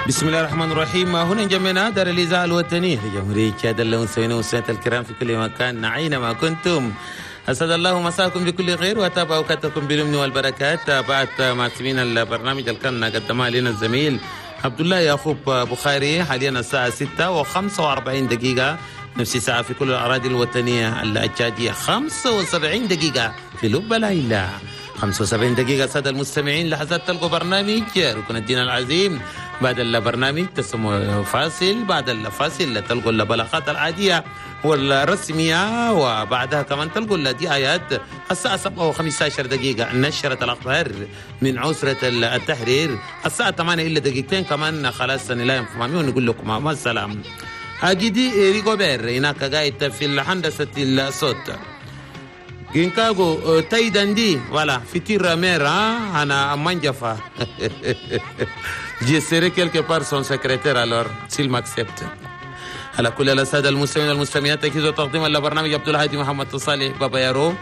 بسم الله الرحمن الرحيم. هنا جمعنا دار الإذاعة الوطنية لجمهورية تشاد، المستمعين والمستمعات الكرام في كل مكان أينما كنتم، أسعد الله مساكم بكل خير وتابع أوقاتكم باليمن والبركات. تابعت مع سمين البرنامج اللي كان قدمها لنا الزميل عبد الله يعقوب بخاري. حاليا الساعة 6:45، نفس الساعة في كل الأراضي الوطنية التشادية، 75 دقيقة في لب ليلى، 75 دقيقة. سادة المستمعين، لحظات تلقوا برنامج ركن الدين العظيم. بعد البرنامج تسمو فاصل، بعد الفاصل تلقوا البلاغات العادية والرسمية، وبعدها كمان تلقوا الدعايات. الساعة 7:15 نشرة الأخبار من عسرة التحرير. الساعة 8 إلا دقيقتين كمان خلاص نلاقي ونقول لكم مع السلامة. أجدي ريغوبير هناك قاعد في الهندسة الصوت. Ginkago Taïdandi, voilà, futur maire, hein, à Mandiafa. Je serai quelque part son secrétaire alors, s'il m'accepte. على كل السادة المستمعين والمستمعات، تجهيز وتقديم البرنامج عبد الهادي محمد صالح بابا يارو.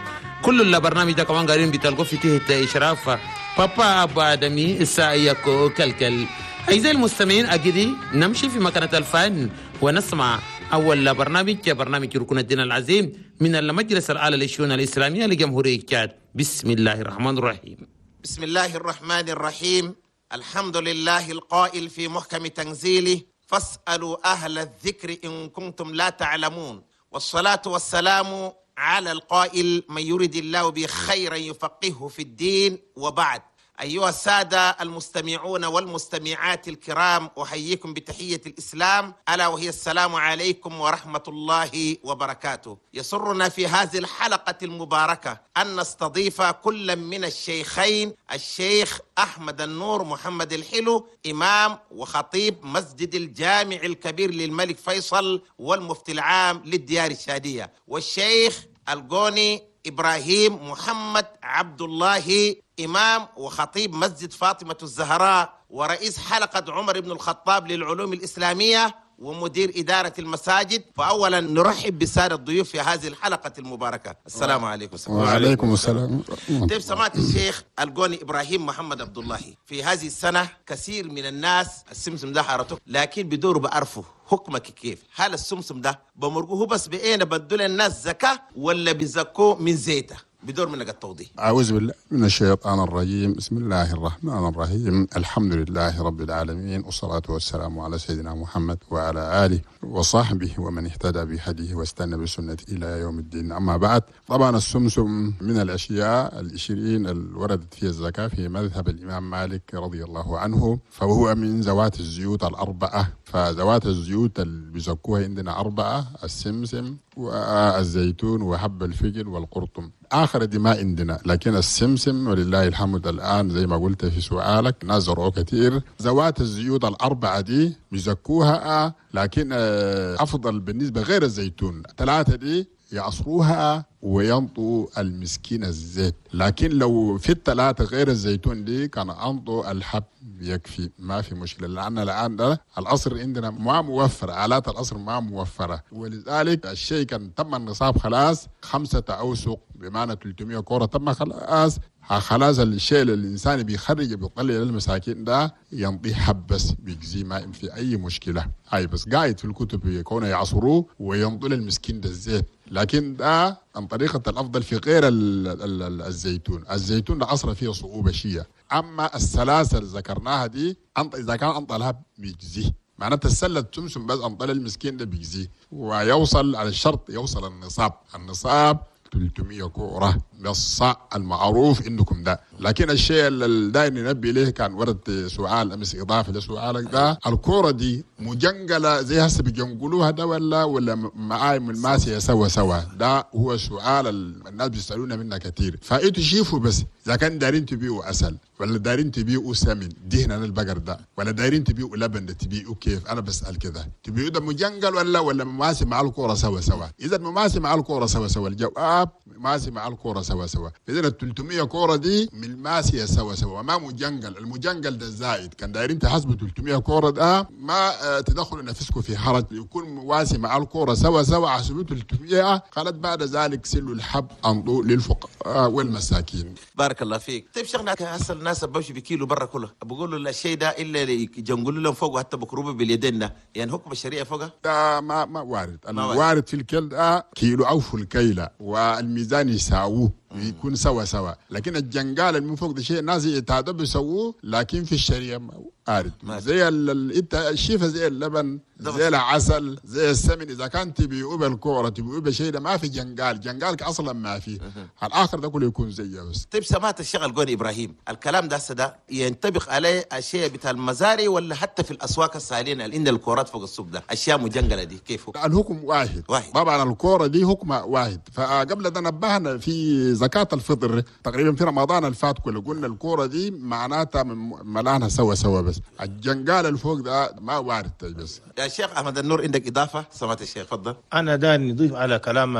كل البرنامج ده كمان قاعدين بتلقوا في تحت إشراف بابا أبو آدمي السايكو كلكل. أعزائي المستمعين، أجدي نمشي في مكانة الفن ونسمع أول برنامج، برنامج ركن الدين العظيم من المجلس الأعلى للشؤون الإسلامية لجمهورية تشاد. بسم الله الرحمن الرحيم. بسم الله الرحمن الرحيم. الحمد لله القائل في محكم تنزيله: فاسألوا أهل الذكر إن كنتم لا تعلمون. والصلاة والسلام على القائل: من يريد الله به خيرا يفقهه في الدين. وبعد، أيها السادة المستمعون والمستمعات الكرام، أحييكم بتحية الإسلام، ألا وهي السلام عليكم ورحمة الله وبركاته. يسرنا في هذه الحلقة المباركة أن نستضيف كل من الشيخين، الشيخ أحمد النور محمد الحلو، إمام وخطيب مسجد الجامع الكبير للملك فيصل والمفتي العام للديار الشادية، والشيخ القوني إبراهيم محمد عبد الله، إمام وخطيب مسجد فاطمة الزهراء ورئيس حلقة عمر بن الخطاب للعلوم الإسلامية ومدير إدارة المساجد. فأولا نرحب بسادة الضيوف في هذه الحلقة المباركة. السلام عليكم. وعليكم السلام. طيب، سمعت الشيخ القوني إبراهيم محمد عبد الله، في هذه السنة كثير من الناس السمسم ده حارته، لكن بدور بعرفه حكمك كيف؟ هل السمسم ده بمرقوه بس بأين بدل الناس زكاة ولا بزكوه من زيته؟ بدور منك التوضيح. أعوذ بالله من الشيطان الرجيم. بسم الله الرحمن الرحيم. الحمد لله رب العالمين، والصلاة والسلام على سيدنا محمد وعلى آله وصحبه ومن اهتدى بهديه واستنى بسنته إلى يوم الدين. أما بعد، طبعا السمسم من الأشياء 20 اللي وردت فيها الزكاة في مذهب الإمام مالك رضي الله عنه، فهو من ذوات الزيوت الأربعة. فذوات الزيوت اللي بيزكوها عندنا أربعة: السمسم والزيتون وحب الفجل والقرطم. آخر دي ما عندنا، لكن السمسم ولله الحمد الآن زي ما قلت في سؤالك ناس زرعوه كثير. ذوات الزيوت الأربعة دي بيزكوها، لكن أفضل بالنسبة غير الزيتون ثلاثة دي يعصروها وينطوا المسكين الزيت، لكن لو في الثلاثة غير الزيتون دي كان أنطوا الحب يكفي، ما في مشكلة، لأن الآن ده العصر عندنا ما موفر، آلات العصر ما موفرة، ولذلك الشيء كان تم النصاب خلاص 5 أوسق بمعنى 300 كورة تم خلاص. خلاص الشيء اللي الإنسان بيخرج بيطلع للمساكين ده ينطي حب بس بيجزي، ما في أي مشكلة. هاي بس قاعد في الكتب يكون يعصروه وينطوا للمسكين ده الزيت، لكن ده عن طريقة الأفضل في غير الزيتون. الزيتون ده عصر فيه صعوبة شيء، أما السلاسل ذكرناها دي إذا كان أنطلها بيجزي، معناتها السلة تمسم بس أنطل المسكين ده بيجزي، ويوصل على الشرط يوصل النصاب. النصاب 300 كورة بالصاع المعروف عندكم ده. لكن الشيء اللي دايما ننبه له، كان ورد سؤال امس اضافه لسؤالك ده، الكورة دي مجنقله زي هسه بيجنقلوها ده ولا معاي من الماسيه سوا سوا؟ ده هو سؤال الناس بيسالونا منه كثير. فانتوا شوفوا بس اذا كان دارين تبيعوا عسل ولا دارين تبيعوا سمن دهن البقر ده، ولا دارين تبيعوا لبن ده تبيعوا كيف؟ انا بسال كده، تبيعوا ده مجنقل ولا مماسي مع الكورة سوا سوا؟ اذا مماسي مع الكورة سوا سوا الجواب النصاب ماسي مع الكورة سوا سوا. اذا ال 300 كورة دي من ماسيه سوا سوا، ما مجنجل. المجنجل ده زائد، كان دايرين تحسبوا 300 كورة ده ما تدخلوا نفسكم في حرج، يكون مواسي مع الكورة سوا سوا حسبوا 300. قالت بعد ذلك سلوا الحب انضوا للفقراء والمساكين. بارك الله فيك. طيب شيخنا هسه الناس بمشي بكيلو برا كله بقولوا لا الشيء ده الا يجنقلوا لهم فوق حتى بكروبه باليدين ده، يعني حكم الشريعة فوقها ده ما وارد. الوارد في الكيل ده كيلو او في الكيله والميزان يساووه يكون سوا سوا، لكن الجنجال اللي من فوق ده شيء ناس يتعدوا بيسووه، لكن في الشريعة وارد. زي الشيفه، زي اللبن، زي العسل، زي السمن، اذا كان تبيعوه بالكورة تبيعوه بشيء ده ما في جنجال، جنجالك اصلا ما في. الاخر ده كله يكون زيه بس. طيب سمعت الشيخ القوني ابراهيم، الكلام ده ده ينطبق عليه اشياء بتاع المزارع ولا حتى في الاسواق السالين اللي عند الكورات فوق السوق ده اشياء مجنجله دي كيف؟ الحكم واحد. طبعا الكورة دي حكم واحد. فقبل ده نبهنا في زكاة الفطر تقريبا في رمضان الفات كله، قلنا الكورة دي معناتها ملانها سوا سوا، بس الجنجال الفوق ده ما وارد بس. يا شيخ أحمد النور عندك إضافة؟ سمعت الشيخ، تفضل. أنا ده نضيف على كلام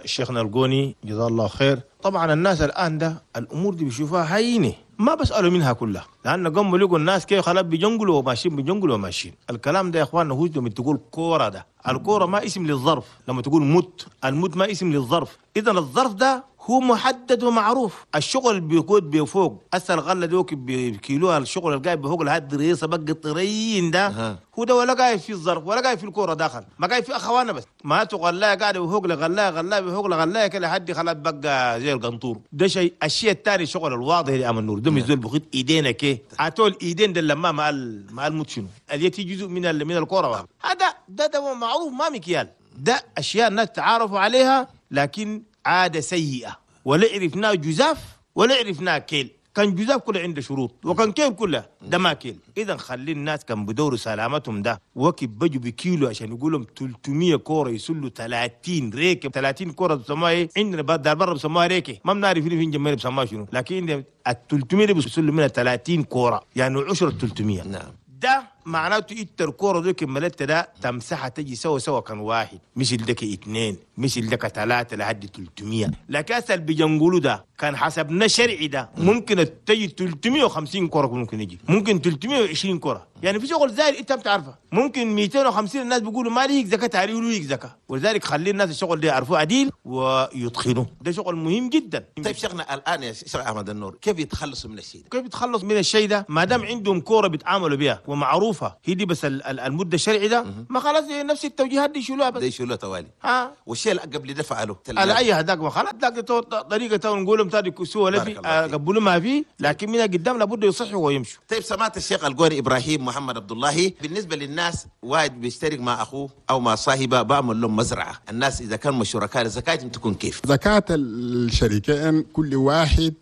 شيخنا القوني جزاه الله خير. طبعا الناس الآن ده الأمور دي بيشوفوها هينة، ما بسألوا منها كلها، لأن قاموا لقوا الناس كيف خلاص بيجنقلوا وماشيين بيجنقلوا وماشيين. الكلام ده يا إخواننا هو لما تقول كورة ده، الكورة ما اسم للظرف، لما تقول مت، المت ما اسم للظرف. إذا الظرف ده هو محدد ومعروف. الشغل بيقود بفوق هسه الغلة دوك بكيلوها، الشغل القاعد بفوق لهاد الدريسه بقى الطريين ده هو ده، ولا قاعد في الظرف ولا قاعد في الكورة داخل، ما قاعد في اخوانا بس ما تغلاها قاعد بفوق لغلاها غلاها بفوق لغلاها كده لحد خلاص بقى زي القنطور ده شيء. الشيء الثاني الشغل الواضح اللي امام النور ده مزول بخيط ايدينا كي عتول ايدين ده لما مع الموت شنو اليتي جزء من الكورة هذا ده معروف ما مكيال ده، اشياء الناس تعارفوا عليها لكن عادة سيئة، ولا عرفناه جزاف ولا عرفناه كيل. كان جزاف كله عنده شروط وكان كيل كله ده ما كيل. إذا خلي الناس كان بدوروا سلامتهم ده وكي بجوا بكيلو عشان يقولهم 300 كورة يسلوا 30 ريكة، 30 كورة بسموها إيه عندنا دار برا بسموها ريكة، ما بنعرف فين جنبنا بسموها شنو، لكن ال 300 دي بيسلوا منها 30 كورة يعني 10 300. نعم ده معناته انت الكورة دي كملت ده تمسحها تجي سوا سوا كان واحد، مش لك اثنين، مش لك ثلاثة لحد 300. لكن هسه اللي بيجنقلوا ده كان حسبنا شرعي ده ممكن تجي 350 كورة، ممكن يجي ممكن 320 كورة، يعني في شغل زايد انت بتعرفه ممكن 250. الناس بيقولوا ما ليك زكاة تعريف ليك زكاة، ولذلك خلي الناس الشغل ده يعرفوه عديل ويدخلوه، ده شغل مهم جدا. طيب شيخنا الان يا شيخ احمد النور كيف يتخلصوا من الشيء ده؟ كيف يتخلصوا من الشيء ده؟ ما دام عندهم كورة بيتعاملوا بها ومعروفة هي دي، بس المدة الشرعي ده ما خلاص نفس التوجيهات دي يشيلوها بس، دي يشيلوها توالي. ها والشيء اللي قبل ده فعلوه على اي هذاك ما خلاص ذاك طريقه نقول لهم تاني سوى لا في قبلوا ما فيه، لكن من قدام لابد يصحوا ويمشوا. طيب سمعت الشيخ القوني ابراهيم محمد عبد الله، بالنسبة للناس واحد بيشترك مع اخوه او مع صاحبه بعمل لهم مزرعة، الناس اذا كانوا شركاء زكاتهم تكون كيف؟ زكاة الشريكين كل واحد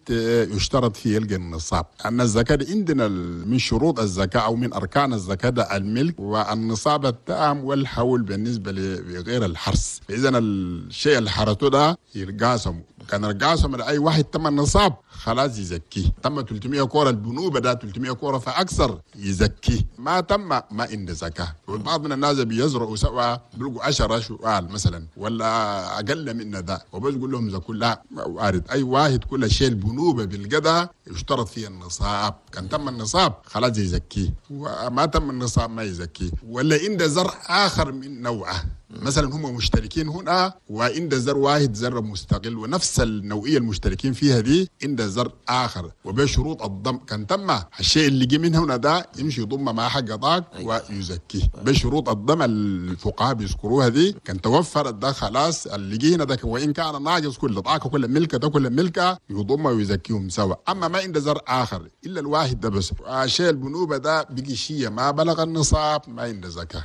يشترط فيه يلقى النصاب. ان الزكاة عندنا من شروط الزكاة او من اركان الزكاة الملك والنصاب التام والحول بالنسبة لغير الحرس. فاذا الشيء اللي حرته ده يرقاسم، كان رقاسم لاي واحد تم النصاب خلاص يزكيه. تم 300 كورة البنوبه ده 300 كورة فاكثر يزكيه، ما تم ما عنده زكاة. والبعض من الناس بيزرعوا سوا بيلقوا 10 شوال مثلا ولا اقل من ده وبس يقول لهم زكوا، لا وارد اي واحد كل شيء البنوبه بالقدا يشترط فيه النصاب، كان تم النصاب خلاص يزكيه، وما تم النصاب ما يزكيه. ولا عنده زرع اخر من نوعه، مثلا هم مشتركين هنا وعند زر واحد زر مستقل ونفس النوعية المشتركين فيها دي عند زر اخر وبشروط الضم، كان تم الشيء اللي جه من هنا ده يمشي يضم مع حق ضاق ويزكيه بشروط الضم الفقهاء بيذكروها دي. كان توفر ده خلاص اللي جه هنا ده وان كان ناقص كل ضاق كل ملكه ده كل ملكه يضم ويزكيهم سوا. اما ما عند زر اخر الا الواحد ده بس، شيء البنوبه ده بقي شيء ما بلغ النصاب ما عنده زكاة.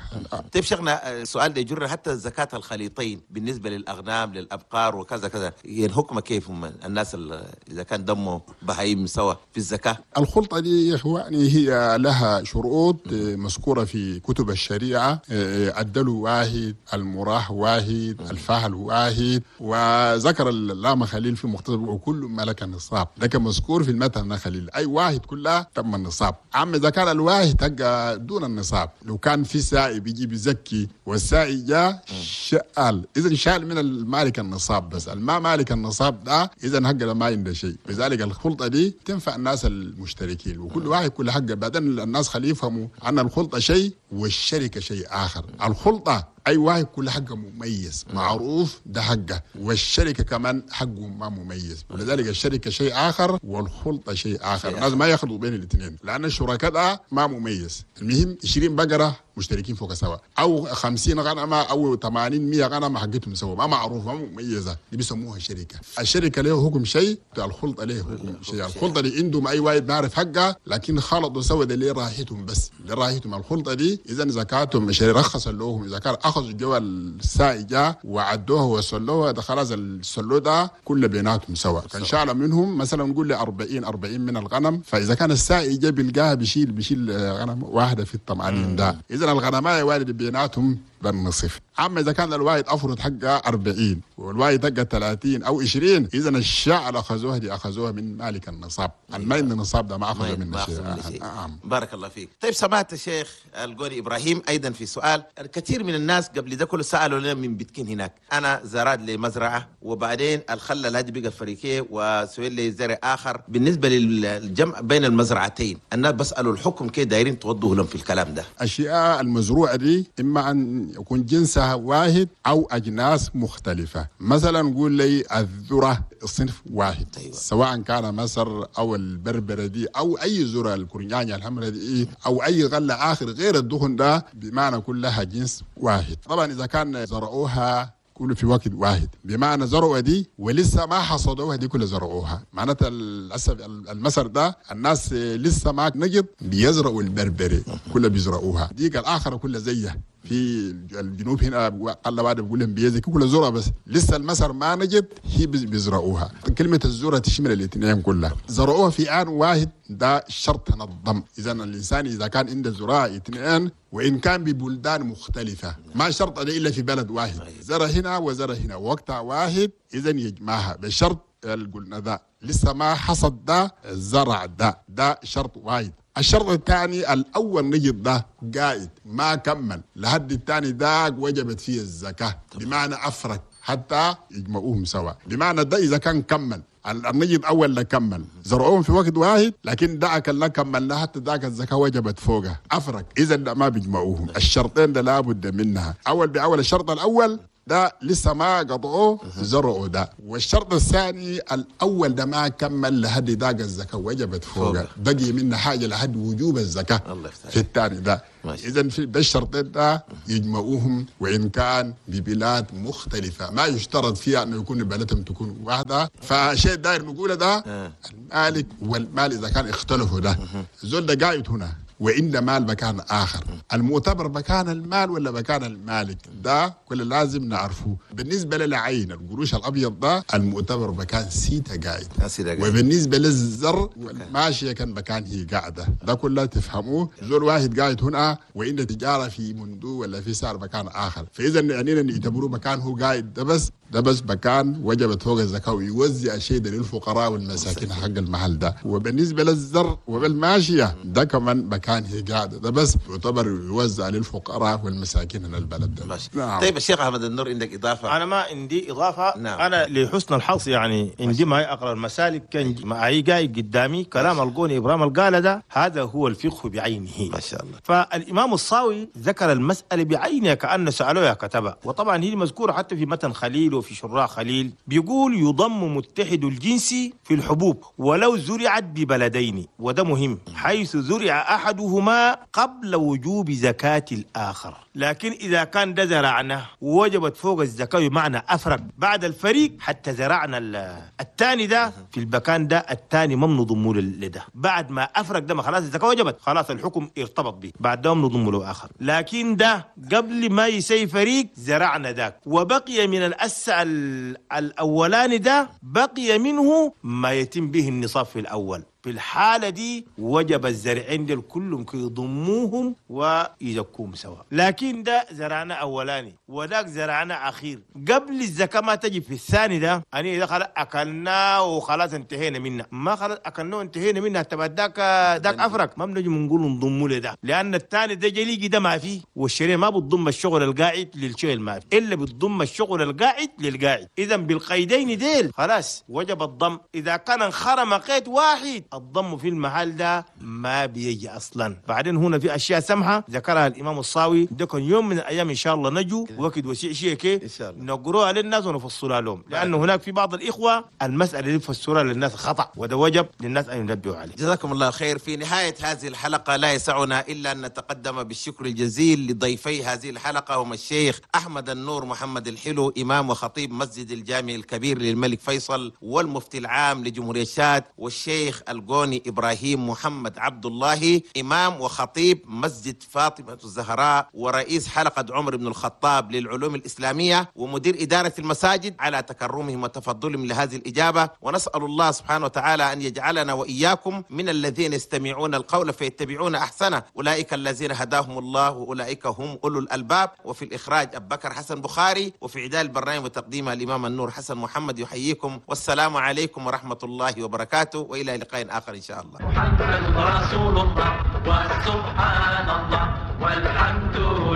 طيب شيخنا السؤال ده يجر حتى زكاة الخليطين بالنسبة للأغنام للأبقار وكذا كذا، الحكم كيف هم الناس إذا كان دمه بهايم سوا في الزكاة؟ الخلطة دي يا إخواني هي لها شروط مذكورة في كتب الشريعة، الدلو واحد، المراح واحد، الفهل واحد، وذكر اللام خليل في مختصر وكل ملك النصاب، لكن مذكور في المثل خليل أي واحد كلها تم النصاب. أما إذا كان الواحد دون النصاب، لو كان في سائي بيجي بيزكي والسائي جاء ده شال، اذا شال من المالك النصاب، بس الما مالك النصاب ده اذا حقه ما عنده شيء. لذلك الخلطة دي تنفع الناس المشتركين، وكل واحد كل حقه. بعدين الناس خليه يفهموا ان الخلطة شيء والشركة شيء اخر. الخلطة اي واحد كل حقه مميز معروف ده حقه، والشركة كمان حقه ما مميز، ولذلك الشركة شيء اخر والخلطه شيء اخر. الناس ما يخلطوا بين الاثنين لان الشركاء ده ما مميز. المهم 20 بقرة مشتركين فوق سوا، او 50 غنمه او 80 100 غنمه حقتهم سوا، ما معروفة ما مميزة، دي بيسموها شركة. الشركة له حكم شيء، الخلطة له حكم شيء. الخلطة دي عندهم اي واحد بيعرف حقه، لكن خلطوا سوا ده ليه راحتهم، بس ليه راحتهم الخلطة دي. اذا زكاتهم مش رخص لهم، اذا كان اخذوا جوا السائجه وعدوها وصلوها ده خلاص السلو ده كله بيناتهم سوا. كان شال منهم مثلا نقول له 40 من الغنم، فاذا كان السائجه بيلقاها بيشيل غنم واحدة في ال80 ده، اذا الغنمايه والد بيناتهم بالنصف. اما اذا كان الواحد افرض حقه 40 والواحد حقه 30 او 20، اذا الشاء اللي اخذوها دي اخذوها من مالك النصاب، ما عند النصاب ده ما اخذوا منه شيء. بارك الله فيك. طيب سمعت الشيخ القوني ابراهيم ايضا في سؤال، الكثير من الناس قبل ده كله سالوا لنا من بيتكين هناك، انا زرعت لي مزرعة وبعدين الخلة هذه بقى فريقيه وسوي لي زرع اخر. بالنسبة للجمع بين المزرعتين الناس بسالوا الحكم كيف دايرين توضحوا لهم في الكلام ده. الاشياء المزروعه دي اما ان يكون جنسها واحد او اجناس مختلفة. مثلا نقول لي الذرة صنف واحد، أيوة. سواء كان مصر او البربره دي او اي ذره الكرنيانيه الحمراء دي او اي غله اخر غير الدخن ده، بمعنى كلها جنس واحد. طبعا اذا كان زرعوها كله في وقت واحد، بمعنى زرعوا دي ولسه ما حصدوها دي كلها زرعوها، معناتها للاسف المسر ده الناس لسه ما نجد بيزرعوا البربري كلها بيزرعوها، ديك الاخرة كلها زيها. في الجنوب هنا قال بعد بقول لهم بيزك كل زرع، بس لسه المسر ما نجد هي بيزرعوها. كلمة الذرة تشمل الاثنين كلها، زرعوها في آن واحد ده شرط نظم. اذا الانسان اذا كان عنده زراعة اثنين وان كان ببلدان مختلفة، ما شرط الا في بلد واحد، زرع هنا وزرع هنا وقتها واحد، اذا يجمعها بشرط قلنا ده لسه ما حصد ده زرع ده، ده شرط واحد. الشرط الثاني الأول نجد ده قائد ما كمل لحد الثاني ده وجبت فيه الزكاة، بمعنى أفرق حتى يجمعوهم سوا. بمعنى ده إذا كان كمل النجد أول لا كمل زرعوهم في وقت واحد، لكن دعك لا كمل حتى ذاك الزكاة وجبت فوقه أفرق، إذا ده ما بيجمعوهم. الشرطين ده لابد منها، أول بأول. الشرط الأول ده لسه ما قطعوه زرعوا ده، والشرط الثاني الاول ده ما كمل لحد داق الزكاة وجبت فوقه، بقي منه حاجة لحد وجوب الزكاة في الثاني ده. اذا في ده الشرطين ده يجمعوهم وان كان ببلاد مختلفة، ما يشترط فيها انه يكون بلدهم تكون واحدة. فشيء داير نقوله ده المالك والمال اذا كان اختلفوا ده زول ده قاعد هنا وإن مال مكان آخر، المعتبر مكان المال ولا مكان المالك ده كل لازم نعرفه. بالنسبة للعين القروش الأبيض ده المعتبر مكان سيتا قاعد، وبالنسبة للزر والماشية كان مكان هي قاعدة، ده كله تفهموه. زول واحد قاعد هنا وإن تجارة في مندو ولا في سعر مكان آخر، فإذا يعني يعتبروه مكان هو قاعد ده بس، ده بس مكان وجبت فوق الزكاة ويوزع شيء ده للفقراء والمساكين حق المحل ده. وبالنسبة للزر وبالماشية ده كمان مكان هي قاعدة ده بس يعتبر يوزع للفقراء والمساكين من البلد ده. نعم. طيب الشيخ أحمد النور عندك إضافة؟ أنا ما عندي إضافة. نعم. أنا لحسن الحظ يعني عندي معي أقرأ المسالك كان معي جاي قدامي كلام القوني إبراهيم القالة ده، هذا هو الفقه بعينه ما شاء الله. فالإمام الصاوي ذكر المسألة بعينها كأن سألوها كتبها، وطبعا هي مذكورة حتى في متن خليل وفي شراء خليل، بيقول يضم متحد الجنس في الحبوب ولو زرعت ببلدين، وده مهم، حيث زرع أحدهما قبل وجوب زكاة الآخر. لكن إذا كان ده زرعنا ووجبت فوق الزكاة بمعنى أفرق بعد الفريق حتى زرعنا الثاني ده في المكان ده الثاني ما بنضمه لده، بعد ما أفرق ده ما خلاص الزكاة وجبت، خلاص الحكم ارتبط به، بعد ده بنضمه له آخر. لكن ده قبل ما يسي فريق زرعنا ذاك وبقي من الأس الأولاني ده بقي منه ما يتم به النصاب في الأول. في الحالة دي وجب الزرعين ديل كلهم يضموهم ويزكوهم سوا. لكن ده زرعنا أولاني وذاك زرعنا أخير، قبل الزكاة ما تجي في الثاني ده أني إذا خلاص أكلنا وخلاص انتهينا منه، ما خلاص أكلنا وانتهينا منه، تبقى ذاك أفرق، ما بنجي نقول نضمه له ده، لأن الثاني ده جليجي ده ما فيه، والشريعة ما بتضم الشغل القاعد للشيء ما فيه، إلا بتضم الشغل القاعد للقاعد. إذا بالقيدين ديل خلاص وجب الضم. إذا كان انخرم قيد واحد الضم في المحل ده ما بيجي أصلا. بعدين هنا في أشياء سمحة ذكرها الإمام الصاوي، ده كان يوم من الأيام إن شاء الله نجو وقت وسيع شيء كي نقروها للناس ونفصلها لهم، لأنه هناك في بعض الإخوة المسألة اللي فسرها للناس خطأ، وده وجب للناس أن ينبهوا عليه. جزاكم الله خير. في نهاية هذه الحلقة لا يسعنا إلا أن نتقدم بالشكر الجزيل لضيفي هذه الحلقة، هم الشيخ أحمد النور محمد الحلو، إمام وخطيب مسجد الجامع الكبير للملك فيصل والمفتي العام لجمهورية شاد، والشيخ القوني إبراهيم محمد عبد الله، إمام وخطيب مسجد فاطمة الزهراء ورئيس حلقة عمر بن الخطاب للعلوم الإسلامية ومدير إدارة المساجد، على تكرمهم وتفضلهم لهذه الإجابة. ونسأل الله سبحانه وتعالى أن يجعلنا وإياكم من الذين يستمعون القول فيتبعون أحسنه، أولئك الذين هداهم الله وأولئك هم أولو الألباب. وفي الإخراج أبو بكر حسن بخاري، وفي إعداد البرنامج وتقديمه الإمام النور حسن محمد يحييكم، والسلام عليكم ورحمة الله وبركاته، وإلى لقاء آخر إن شاء الله. محمد رسول الله، وسبحان الله، والحمد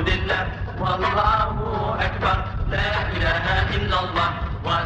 لله، والله أكبر، لا إله إلا الله.